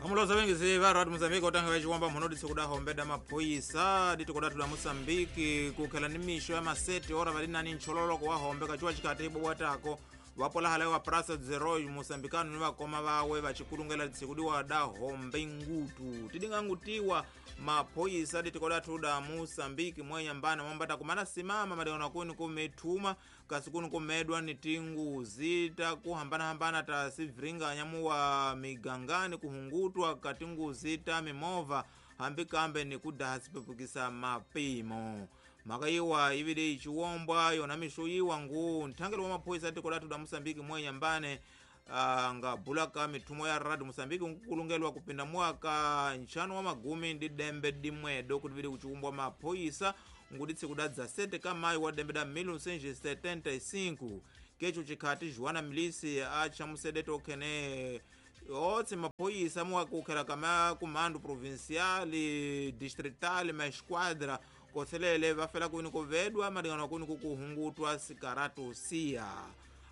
Amuloza vengi va Radio Mozambique otanga vachiwamba mhono ditsikuda hombeda maphoyisa ditikodatu la Mozambique kukhela ni mixo ya masete ora vali nani nchololoko wa hombe kachiwa chikati ibobwatako vapolahala wa Praça dos Heróis moçambicano ni vakoma vawe vachikulungela ditsikudiwa da hombe ngutu tidingangutiwa maphoyisa ditikodatu da Mozambique mwenyambana mwambata kumana simama madekana kuni kumethuma kasi kuni kumedwa ni tinguzi takuhambanahambana ta sivhiringanya muwa migangani kuhungutwa katinguzi ta mimovha hambi kambe ni kudaha sipepukisa mapimo mhaka yiwa ivile ichiwombwa yona mixo yiwa ngu nthangelo wa maphoyisa tiko lathu da Mozambique mwenyambane nga bulaka mithumo ya Radio Mozambique nkukulungelwa kupinda mwaka nxanu wa magumi ndi dembe dimwedo kuti vili kuchiwumbwa maphoyisa nguti tsiku da 17 ka maio wa dembe da 1975 kecho chikhati Joana Milisi achamusedete okhene otse maphoyisa muwakukhela kama kumando provincial distrital ma esquadra koselele vafela kwini kuvedwa malingana kwini kukuhungutwa sikaratu siya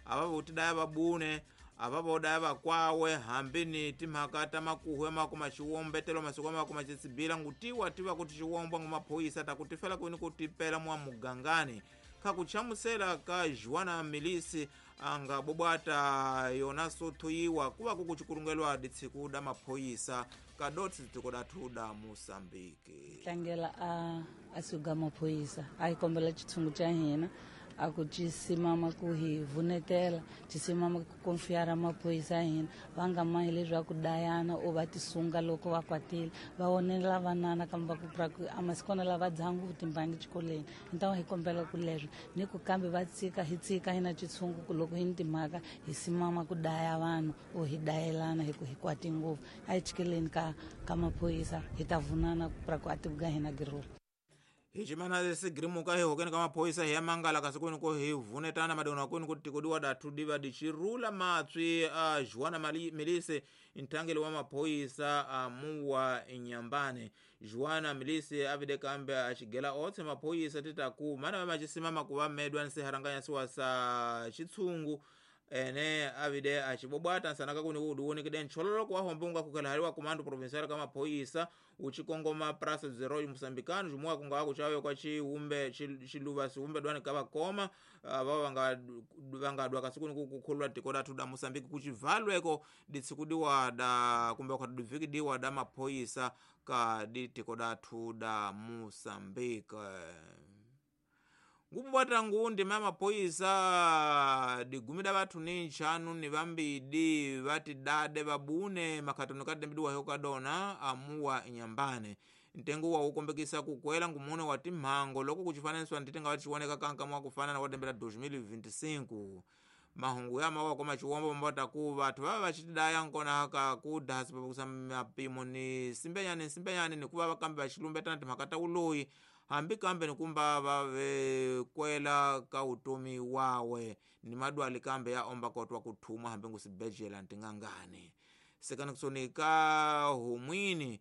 ava votidaya vabune ava vodaya vakwawe hambi ni timhaka ta makuhu ya makuma xiwombetelo masiku ya makuma xitsibila ngutiwa tiva kuti xiwombwa ngu maphoyisa takutifela kwini kutipela mwa mugangani khakuchamusela ka Joana Milisi anga bobwata yona sothoyiwa kuva kukuchikulungelwa ditsiku da maphoyisa kadotsi tiko dathu da Mozambique tlangela a suga maphoyisa a hi kombela xitshungu xa hina a ku ci simama ku hi vunetela ci simama ku konfiyara maphoyisa ya hina va nga mahi leswaku dayana o va tisunga loko va kwatile va onela vanana kambe va ku pra ku a masikona lava dzaha ngopfu timbangi xikolweni ni ta hi kombela ku leswo ni ku kambe va tsika hi tsika hina xitshungu ku loko hi ni timhaka hi simama ku daya vanhu o hi dayelana hi ku hi kwati ngopfu a hi chikeleni ka maphoyisa hi ta vunana ku pra ku a tivuka hina girula hi ximana sigirimuka hi hokeni ka maphoyisa hi ya mangala kasi kwini ko hi vunetana madekwana kwini ku tikodiwa dathu diva dixirula matswi a Joana Milisi nthangeli wa maphoyisa a muwa nyambane Joana Milisi a vide kambe a xigela otse maphoyisa titaku mana va maxisimama ku va medwa ni siharanganyasiwa sa xitshungu ene avide axibobwata nsanaka kuni kudiwonekede nchololoko wa hombe unga kukhela haliwa kumando provincial ka maphoyisa uchikongoma Praça dos Heróis moçambicano jumuwa kunga kuchawe kwa chiumbe chiluva siumbe dwani kavakoma vava vangadwa kasi kuni kukhulula tiko lathu da Mozambique kuchivalweko ditsikudiwa da kumbe khadivikidiwa da maphoyisa ka ditiko dathu da Mozambique ngupubwata ngundi ma maphoyisa digumi da vathu ni nxanu ni vambidi vati dade vabune makhatano kadembidiwa hyo kadona amuwa nyambane ntengo wa ukombekisa kukwela ngumune wa timhango loko kuchifananiwa nditenga vachiwoneka kanka mwa kufanana wa dembe la 2025 mahungu ya mawa koma chiwombo mbataku vathu vava vachitidaya nkona ka kudaha sipapukusa mapimo ni simbenyani simbenyani nikuva vakambe vachilumbetana timhaka ta uloyi hambi kambe nikumba vavekwela ka utomi wawe ni madwali kambe ya omba kotwa kuthuma hambi ngusibejela ntingangani sikanikisoni ka humwini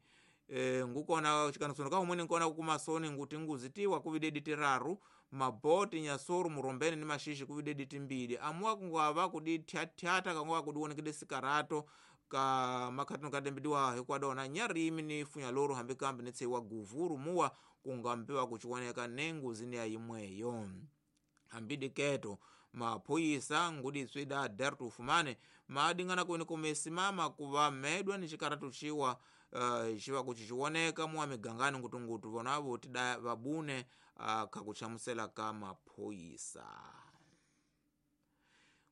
ngukona xikanikisoni ka humwini nkona kukuma soni nguti nguzitiwa kuvidedi tiraru maboti nyasoru murombeni ni maxixi kuvidedi timbili amuwa kungava kudi thyathyata kanguva kudiwonekede sikarato ka makhatino kadembidiwa hikwadona nyarimi ni funya loru hambi kambe ni tseiwa guvuru muwa kungambiwa kuchiwoneka nenguzi ni ya imweyo hambidi keto maphoyisa nguditswi da dertu ufumane maadingana kwini kumesimama kuva medwa ni xikaratu xiwa xiva kuchichiwoneka muwa migangani ngutungutu vona votida vabune khakuchamusela ka maphoyisa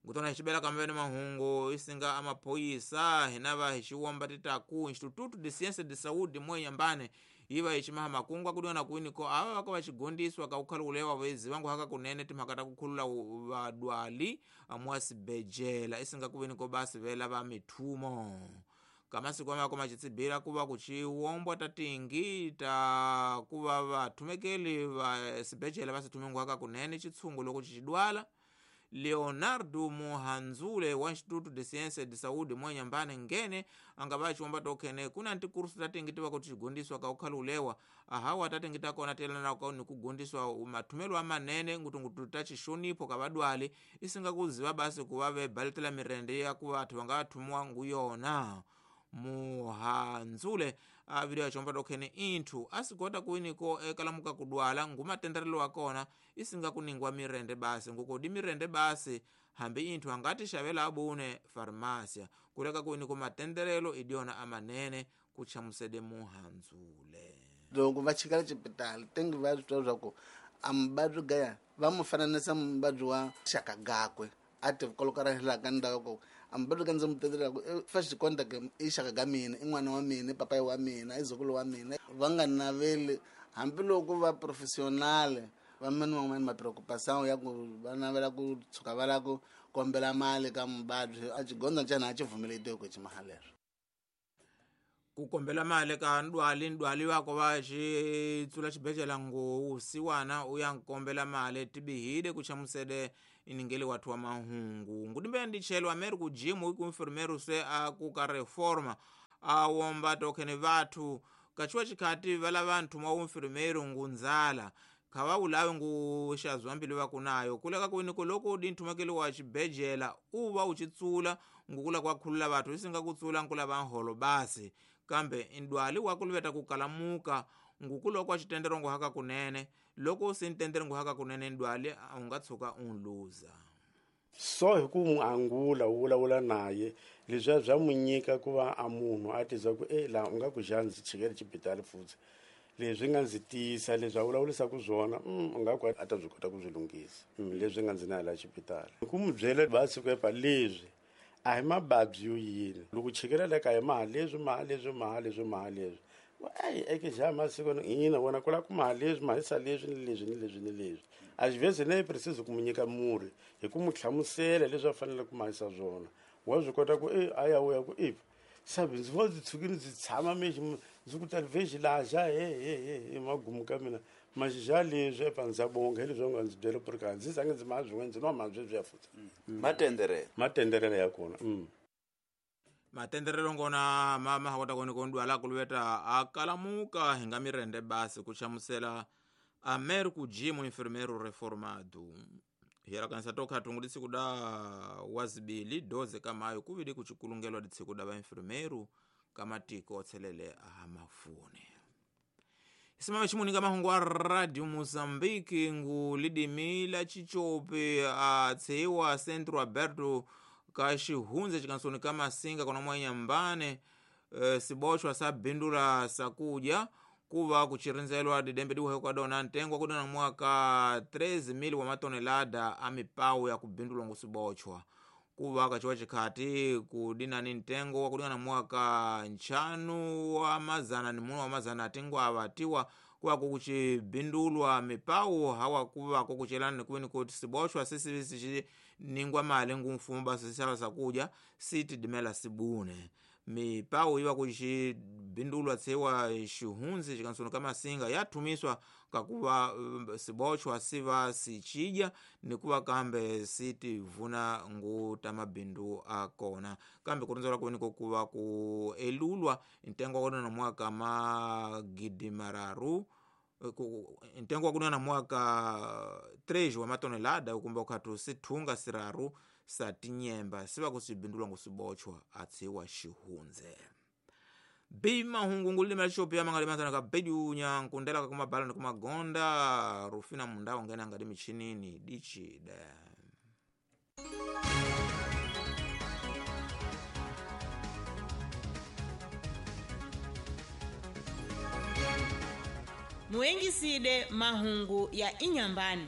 ngutona hi xibela kambe ni mahungu isinga amaphoyisa hina va hi xiwomba titaku Instituto de Ciência de Saúde mwenyambane yiva hi ximaha makungu akudiwana kwini ko ava vaka va xigondiswa ka kukhalukulewa veziva ngu haka kunene timhaka ta kukhulula vadwali mwa sibejela isinga kuvini ko basi vela va mithumo kamasiku amako macitsibila kuva kuchiwombwa tatingi ta kuva vathumekeli va sibejela va sithume ngu haka kunene xitshungu loko xixidwala Leonardo Mohanzule wa Instituto de Ciência de Saúde mwenyambane ngene angava chiwomba tokhene kuna ntikursu tatingi tiva kuti xigondiswa ka ukhalulewa ahawa tatingi takona telana ka ni kugondiswa mathumelo amanene ngutungutu ta xixonipho ka vadwali isinga kuziva basi kuva vebaletela mirende ya ku vathu va nga thumiwa ngu yona Muhandzule a video ya chomba tokhene inthu asigota kuwiniko ekalamuka kudwala ngumatenderelo wa kona isinga kuningwa mirende basi ngukudi mirende basi hambi inthu angati xavela abune farmasia kuleka kuwiniko matenderelo idiona amanene kuchamusede Muhandzule. Loko va chikala xipitali tengi va swi twa swa ku a muvabyi gaya va mu fananisa muvabyi wa xaka gakwe a ti kolokarahela ka ndhawu ku a muvabyi ka ndzi mu tetelaka first contact i xaka ga mina, i n'wana wa mina, i papayi wa mina, i zukulu wa mina. Va nga naveli hambiloko va professional va mani van'wani ma preocupação ya ku va navela ku tshuka va lava ku kombela mali ka muvabyi a xigondza xana a xi pfumeletiwe ku xi mahalelo. Ku kombela mali ka ndwali ndwali wako va xi tsula xibedhlele ngousiwana u ya nkombela mali tibihile ku chamusele iningeli wathu wa mahungu ngudimbe ndichelo ameri ku jimu iku enfermeiro se a ku ka reforma a womba tokhene vathu kachiwa chikhati vala vanthu mwa enfermeiro ngunzala khava ulawe ngu xazwa mbilu va kunayo kuleka kuwiniko loko dinthumakeli wa xibedhlele u va u xitsula ngukula kwa khulula vathu isinga kutsula nkula va nholo basi kambe indwali wa kuluveta ku kalamuka ngukulo kwa xitendero ngu haka kunene loko u si ntendere ngu haka kunene ndwali a u nga tshuka u luza. So hi ku n'wi angula u vulavula naye leswiya bya n'wi nyika ku va a munhu a tizwa ku e laha u nga ku xa ndzi chikele xibedhlele futhi leswi nga ndzi tiyisa leswi a vulavurisaka swona u nga ku a ta byi kota ku swi lunghisa leswi nga ndzi na laha xibedhlele hi ku n'wi byela va siku epa leswi a hi mavabyi yo yini loko chikela le kaya maha leswi maha leswi maha leswi maha leswi eyi eke xa masiku hina wena ku lava ku maha leswi mahisa leswi ni leswi ni leswi ni leswi a xi vhezi ne preciso ku mu nyika murhi hi ku mu hlamusela leswi a fanele ku mahisa swona wa swi kota ku e a ya u ya ku e sabe ndzi vo ndzi tshukile ndzi tshama mexi ndzi ku talivexi laha xa he he he he magumu ka mina maxixa leswi epa ndza bonga hi leswi va nga ndzi byela ku ri ka ndzi zange ndzi maha swin'wana ndzi nwa maha sweswiya futhi matenderelo matenderelo ya kona matenderelo ngona mama hakota koni kondwala kuluveta akalamuka hinga mirende basi kuchamusela ameri kujimu enfermeiro reformado hiyalakanisa tokhatungu ditsiku da wazibili 12 kamayo kuvili kuchikulungelwa ditsiku da vaenfermeiro kamatiko otselele ahamafune. Isimame chimuninga mahungu a Radio Mozambique ngu lidimi la chichope atseiwa Centro Aberto ka xihundze xikansoni ka Masinga kona mwanyambane siboxwa sa bindula sakudya kuva kuchirindzelwa didembe diwuhekwa dona ntengo wa kudona mwaka 13,000 wa matonelada a mipawu ya kubindulwa ngu siboxwa kuva kachiwa chikhati kudinani ntengo wa kudingana mwaka 5 wa mazana ni muno wa mazana atingwa atiwa kuva kukuchibindulwa mipawu hawa kuva kukuchelana nikuweni kuti siboxwa sisi ningwa mali ngu mfumo basi sisala sakudya sitidimela sibune mipawu iwa kuchibindulwa tsewa xihundzi xikansoni ka Masinga yathumiswa kakuva siboxwa siva sichidya nikuva kambe sitivuna ngu ta mabindu akona kambe kurindzelwa kuweni kuva ku elulwa ntengo wa kudona mwaka magidi mararu ntengo wa kudona mwaka 3 wa matonelada ukumba ukhatu sithunga siraru sa tinyemba siva kusibindulwa ngusibochwa atsiwa xihundze. Bi mahungu ngulima xopi ya mangalimazana ka bedunya nkundela ka kumabala ni kumagonda Rufina mundao ngena ngadi michinini dichide. Muengiside mahungu ya Inyambani.